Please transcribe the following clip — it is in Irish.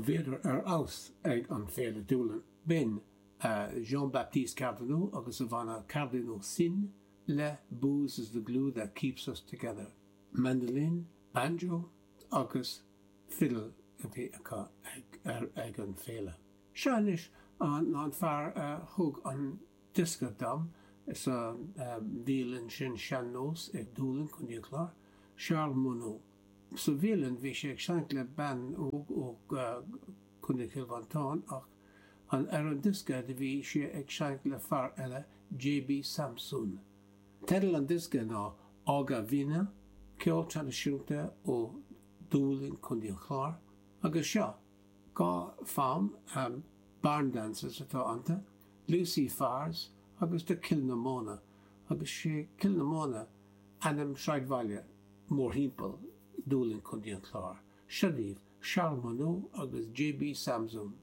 Bhíodar ar fheabhas ag an Féile Doolin. B'in Jean-Baptiste Cardinaux agus a bhanna Cardinaux Sin le Booze is the glue that keeps us together. Mandolin, banjo agus fiddle a bhí acu ag an féile. Seo anois an fear a thug an diosca dom sa bhialann sin Sean Nós i Dúlainn, Co. an Chláir, Charles Monot. Sa bhialann bhí sé ag seinnt le bean óg ó Co. Chill Mhantáin ach ar an diosca do bhí sé ag seinnt le fear eile, J.B. Samson. Teideal an diosca ná Ága Bhíne, ceol traidisiúnta ó Dhúlainn, Co. an Chláir. Agus seo 2 fonn, barn dances atá iontu, Lucy Farrs agus The Kilnamona, agus sé Kilnamona ainm sráidbhaile mórthimpeall Dúlainn, Co. an Chláir. Seo daoibh Charles Monot agus J.B. Samson.